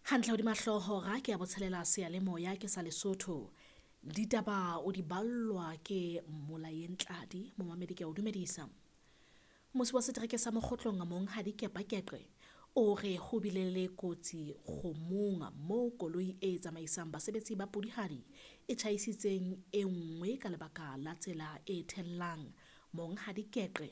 Hantle hodima hlooho hora ke ya botshelela seyalemoya ke sa Lesotho. Ditaba o di ballwa ke Mmolayeng Tladi, momamedi ke a o dumedisa. Mmusi wa setereke sa Mokgotlong Monghadi Kepa Keqe o re ho bile le kotsi kgomong moo koloi e tsamaisang basebetsi ba pudihadi e tjhaisitseng e nngwe ka lebaka la tsela e thellang. Monghadi Keqe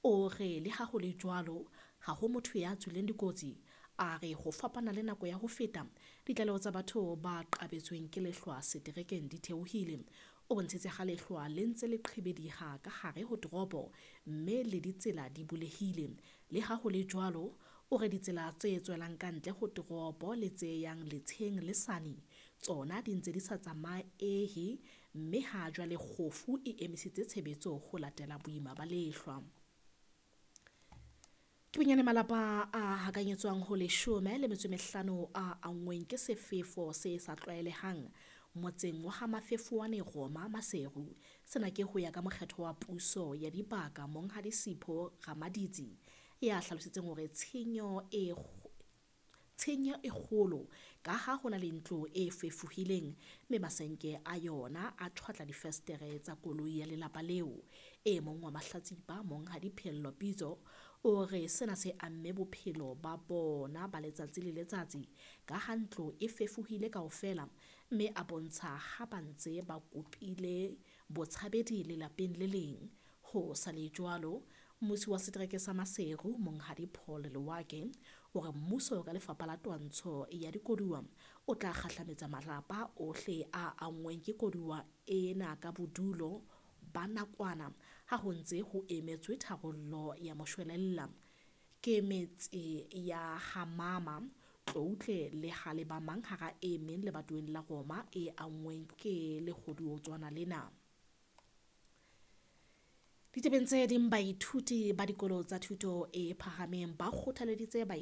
o re le ha ho le jwalo, ha ho motho ya tswileng dikotsi. A re ho fapana le nako ya ho feta, ditlaleho tsa batho ba qabetsweng ke lehlwa seterekeng di theohile. O bontshitse ha lehlwa le ntse le qhibediha ka hare ho toropo mme le ditsela di bulehile. Le ha ho le jwalo, o re ditsela tse tswelang ka ntle ho toropo le tse yang letsheng le Sani tsona di ntse di sa tsamaehe mme ha jwale kgofu e emisitse tshebetso ho latela boima ba lehlwa. Ke bonyane malapa a hakanyetswang ho 15 a anngweng ke sefefo se sa tlwaelehang motseng wa ha Mafefowane Roma Maseru. Sena ke ho ya ka mokgetho wa puso ya dibaka Monghadi Sipho Ramaditsi ya hlalositseng hore tshenyo e kgolo ka ha ho na le ntlo e fefohileng mme masenke a yona a tjhwatla difestere tsa koloi ya lelapa leo. E mong wa mahlatsipa Monghadi Phello Pitso o re sena se amme bophelo ba bona ba letsatsi le letsatsi ka ha ntlo e fefohile kaofela mme a bontsha ha ba ntse ba kopile botshabedi lelapeng le leng. Ho sa le jwalo, mmusi wa setereke sa Maseru Monghadi Paul Lewake o re mmuso ka lefapha la twantsho ya dikoduwa o tla kgahlametsa malapa ohle a anngweng ke koduwa ena ka bodulo ba nakwana ha ho ntse ho emetswe tharollo ya moshwelella. Ke metse ya Hamama, Tloutle le Halebamang hara e meng lebatoweng la Roma e anngweng ke lekgoduotswana lena. Ditabeng tse ding, baithuti ba dikolo tsa thuto e phahameng ba kgothaleditse